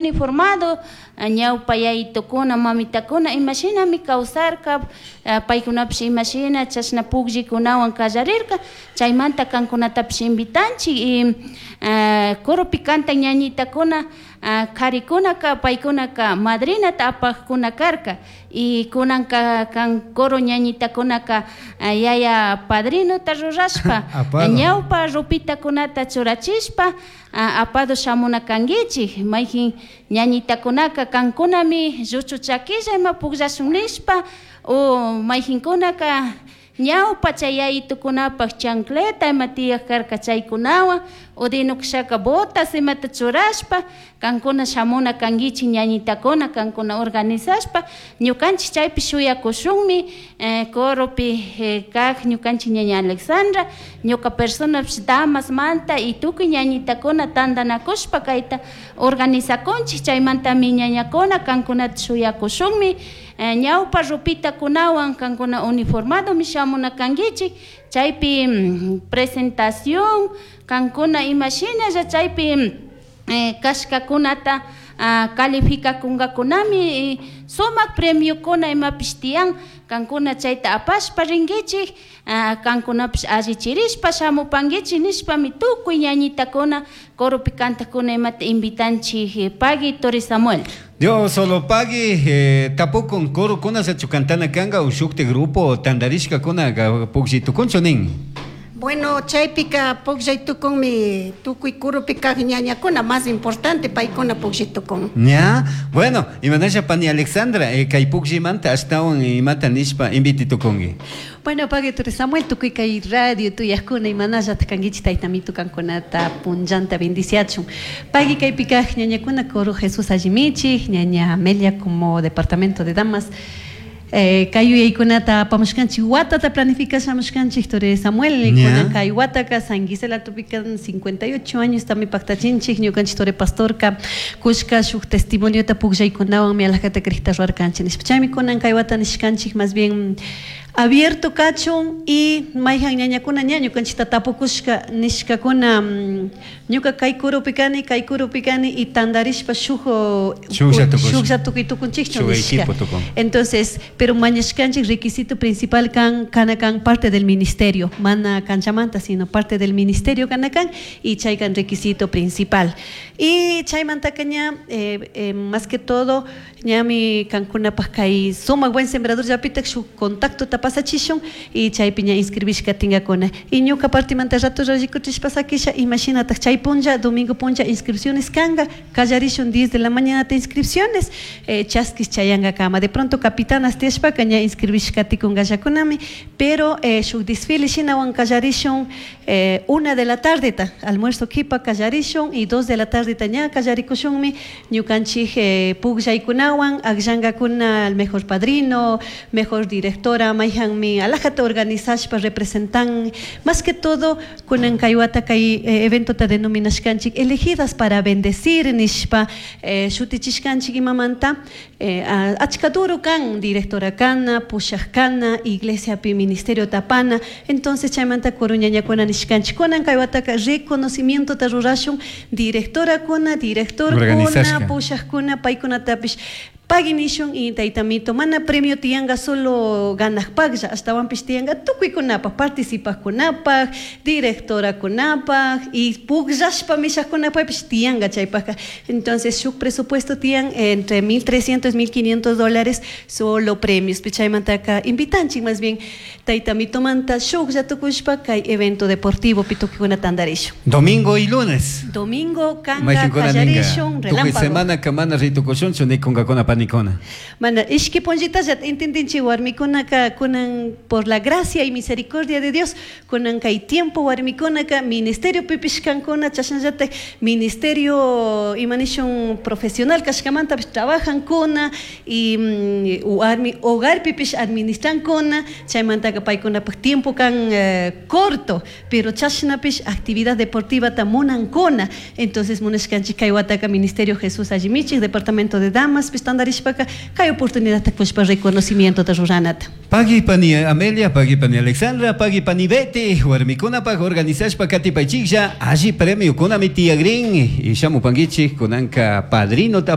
Uniformado ñawpa yayitukuna mamitakuna imashinami kawsarka, paykunapish imashina chashna pukllikunawan kallarirka, chaymanta kankunatapish invitanchik y coropi kantak ñañitakuna karikunaka paykunaka madrinata apakuna karka y kunanka kan coro ñañitakunaka yaya padrinota rurashpa ñawpa ropitakunata churachishpa apado shamuna kankichik. Mayjin ñañitakunaka kankunami lluchu chaquilla ima pukllashun nishpa o mayjinkunaka ñawpa chay yayitukunapak chancleta ima tiyak karka chaykunawan o dinukshaka botas imata churashpa kankuna shamuna kankichik ñañitakuna kankuna organizashpa ñukanchik chaypi shuyakushunmi coropi kak ñukanchik ñaña Alexandra ñuka personapish damasmanta y tukuy ñañitakuna tantanakushpa kayta organizakunchik chaymantami ñañakuna kankunata shuyakushunmi ñawpa ropitakunawan kankuna uniformadomi shamuna kankichik chaypi presentación kankuna imashinalla chaypi kashkakunata calificakunkakunami sumak premiokuna imapish tiyan kankuna chayta apashpa rinkichik kankunapish allichirishpa shamupankichik nishpami tukuy ñañitakuna coropi kantakuna imata invitanchik. Pagui, Tori Samuel. Dios solo pagui, tapukun corokuna cantana kanga o shukti grupo tandarishkakuna pukllay tukunchu nin. Bueno, chaypika pukllay tukunmi tukuy kurupi kaq ñañakuna, más importante paykuna pukllay tukun. Ya, bueno, imanasha pani Alexandra, kay pukllaymanta ashtawan imata nishpa inviti tukunki. Bueno, pagui, Tori Samuel, tukuy kay radio tuyakuna imanallataq kankichik, taytamitu kankunata punllanta bendiciachun. Pagui, kaypi kaq ñañakuna, coro Jesús Allimichik, ñaña Amelia como departamento de damas, kay yuyaykunata apamushkanchik, watata planificashamushkanchik, Tori Samuel, kunan kay wataka San Gisela tupikan 58 años tami paktachinchik, ñukanchik Tori Pastorka kushka shuk testimoniota pukllaykunawanmi alajata krikta ruwarkanchik nishpa. Chaymi kunan kay wata nishkanchik más bien abierto kachun y mayhan ñañakuna ña ñukanchikta tapukushka nishkakuna ñuka kay kurupi kani, kay kurupi kani y tandarishpa shuk shuklla tukuy tukunchikchu nishka. Entonces, pero mañashkanchik requisito principal kan kana kan parte del ministerio, mana kanchamanta, sino parte del ministerio kana kan y chay kan requisito principal. Y chaymantaka ña más que todo ñami kankunapaj kay sumak buen sembrador llapitak shuk contacto pasachishun y chaypi ña inscribishka tingakuna. Y ñuka partimanta rato rikuchishpa sakisha imashinatak chay punlla, domingo punlla, inscripciones kanga. Kallarishun 10 de la mañana ta inscripciones, chaskis chayangakama. De pronto capitanas tiyashpaka ña inscribishka tikungallakunami, pero shuk desfile shinawan kallarishun 1 de la tarde ta, almuerzo kipa kallarishun y 2 de la tarde ta ña kallarikushunmi ñukanchik pukllaykunawan akllankakuna al mejor padrino, mejor directora, mayhanmi alajata organizashpa representan. Más que todo kunan kay wata kay eventota denominashkanchik "Elegidas para bendecir" nishpa shutichishkanchik. Imamanta achka duro kan directora kana, pushak kana, iglesiapi ministerio tapana. Entonces chaymanta coro ñañakuna nishkanchik kunan kay wataka reconocimientota rurashun directorakuna, directorkuna, pushakuna, paykunatapish pagui nishun. Y taytamito, mana premio tiyanka solo ganakpaklla, ashtawanpish tiyanka tukuykunapaj, participajkunapaj, directorakunapaj y pukllashpa mishakkunapajpish tiyanka chaypajka. Entonces shuk presupuesto tiyan entre 1300 1500 dólares solo premios. Chaymantaka invitanchik más bien taytamitomanta shuklla tukushpa kay evento deportivo pi tukuykuna tandarishun. Domingo y lunes. Domingo kanka kallarishun. Tukuy semana mana ritukushunchu nikunkakuna panikuna. Mana, ishki punllitalla entendinchik warmikunaka kunan, por la gracia y misericordia de Dios, kunan kay tiempo warmikunaka ministerio pipish kankuna, chashnallatak ministerio imanishun profesional kashkamantapish trabajankuna y warmi hogar pipish administrankuna. Chaymantaka paykunapak tiempo kan corto, pero chashnapish actividad deportivata munankuna. Entonces munashkanchik kay wataka ministerio Jesús Allimichik, departamento de damas pish tandarishpa. aparishpaka kay oportunidadta kushpa reconocimientota ruranata. Pagui pani Amelia, pagui pani Alexandra, pagui pani Betty, warmikunapaq organizashpa katipaychiklla alli premiokunami tiyagrin y shamupankichik kunanka padrinota.